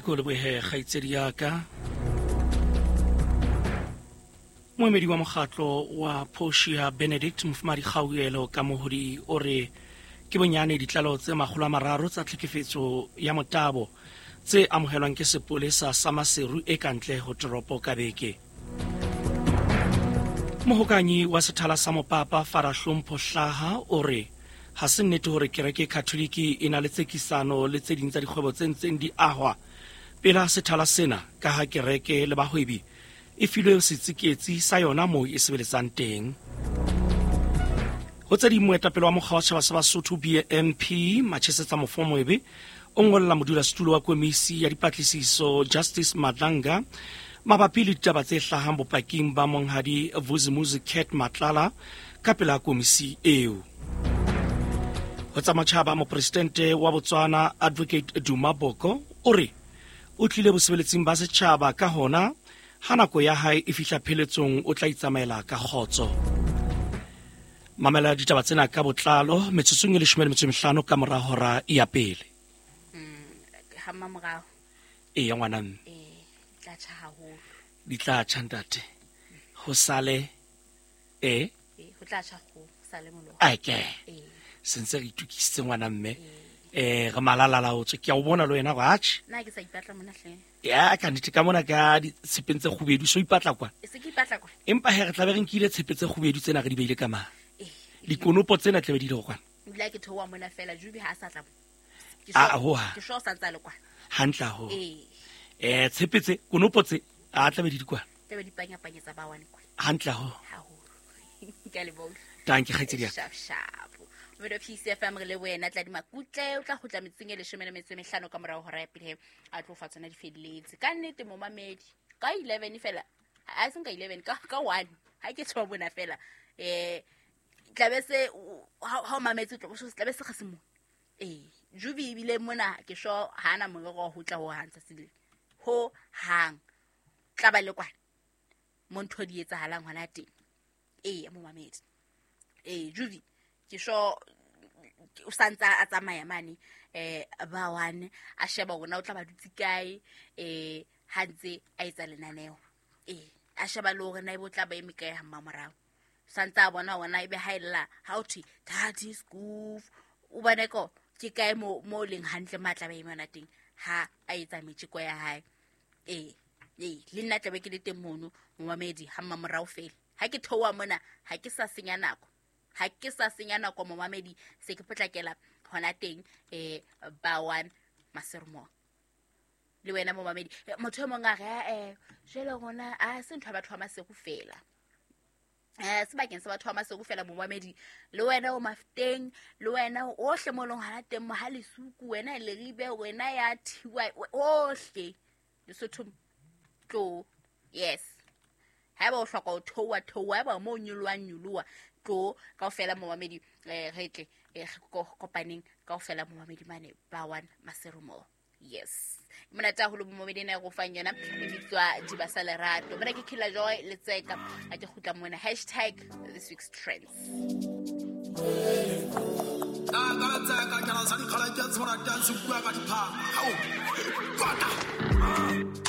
A ko lebohe kgaitsedi ya ka. Moemedi wa mokgatlo wa Portia Benedict Mofumadi Kgauelo Kamohodi o re ke bonyane ditlaleho tse 300 tsa tlhekefetso ya motabo tse amohelwang ke sepolesa sa Maseru e kantle ho toropo ka beke. Mohokanyi wa sethala sa mopapa Fara Hlompho Hlaha o re ha se nnete hore kereke Katholiki e na le tsekisano le tse ding tsa dikgwebo tse ntseng di ahwa pela sethala sena, ka ha kereke le bahwebi e filwe setsiketsi sa yona moo e sebeletsang teng. Ho tse ding, moetapele wa mokga wa setjhaba sa Basotho BNP Machesetsa Mofomoebe o ngolla modulasetulo wa komisi ya dipatlisiso Justice Madlanga mabapi le ditaba tse hlahang bopaking ba monghadi Vusimuzi Cat Matlala ka pela komisi eo. Ho tsa matjhaba, mopresidente wa Botswana Advocate Duma Boko o re o tlile bosebeletsing ba setjhaba, ka hona ha nako ya hae e fihla pheletsong o tla itsamaela ka kgotso. Mamela ditaba tsena ka botlalo metsotsong e 15 ka mora hora ya pele. Ha mmamorao. Eya ngwana mme. Tla tjha haholo. Di tla tjha ntate. Ho sale e Ho tla tjha kgoho, sale molora. Ake. Se ntse re itukisitse ngwana mme. Re malalala o tswe. Ke a o bona le wena gore atjhe. Nna ke sa ipatla mona hle. Ya ka nnete ka mona ka ditshepeng tse kgubedu so ipatla kwa. E se ke ipatla kwa. Empa he re tla be re nkile tshepe tse kgubedu tsena re di beile ka mang. Dikonopo tsena tla be di le go kwana. Ebile ha ke theoha mona fela Jubi ha a sa tla mo. Ke Ah, ho ha. Ke sure o sa ntse a le kwana. Hantle haholo. Tshepe tse, konopo tse, a tla be di di kwana. Tla be di panyapanyetsa ba wane kwana. Hantle haholo. Haholo. Ke a leboha. Tanki kgaitsedi ya ka. Sharp, sharp. Modo PCFM re le wena Tladi Makutle o tla kgutla metsing e 15 ka morao hora ya pele a tlo fa tsona di felletse. Ka nnete momamedi ka 11 fela, a seng ka 11 ka 1 ha ke tswa bona fela. Tlabe se ha o mametse tlo so tlabe se kgase mona. Jubi ebile mona ke sho ha ana morero wa ho tla ho hang tsatsi le. Ho hang. Tla ba le kwana. Mo ntho di etsahalang hona teng. Momamedi. Jubi ke sho o santsa a tsamaya mane, ba one a sheba hore na o tla ba dutse kae, ha ntse a etsa lenaneo. A sheba le hore na ebe o tla ba eme kae ha mmamorao. Santsa a bona hore na ebe ha e lla, ha o thwe, that is goof. O bone ko ke kae mo leng hantle mo a tla ba eme hona teng ha a etsa metjeko ya hae. Le nna tlabe ke le teng mono momamedi ha mmamorao fela. Ha ke theoha mona, ha ke sa senya nako. Ha ke sa senya nako momamedi, se ke potlakela hona teng, ba one Maseru. Le wena momamedi, motho e mong a re, jwale rona, a se ntho ya batho ba Maseru fela. Sebakeng sa batho ba Maseru fela momamedi, le wena o Mafteng, le wena ohle mo leng hona teng, Mohalesuku, wena Leribe, wena ya Thiwa, ohle Lesotho tlo. Yes. Haeba o hloka ho theoha, theoha, haeba mo o nyolohang, nyoloha, tlo kaofela momamedi, re tle, re kopaneng kaofela momamedi mane ba one Maseru Mall. Yes. Monate haholo momamedi ena e re o fang yona, e bitswa Diba sa Lerato. Mona ke Killer Joy le Tseka, a ke kgutla mona, hashtag this week's trends. Ka ka Tseka, ke ra sa dikgala ke tshwara dance bua ka diphaka. Hao. Kota.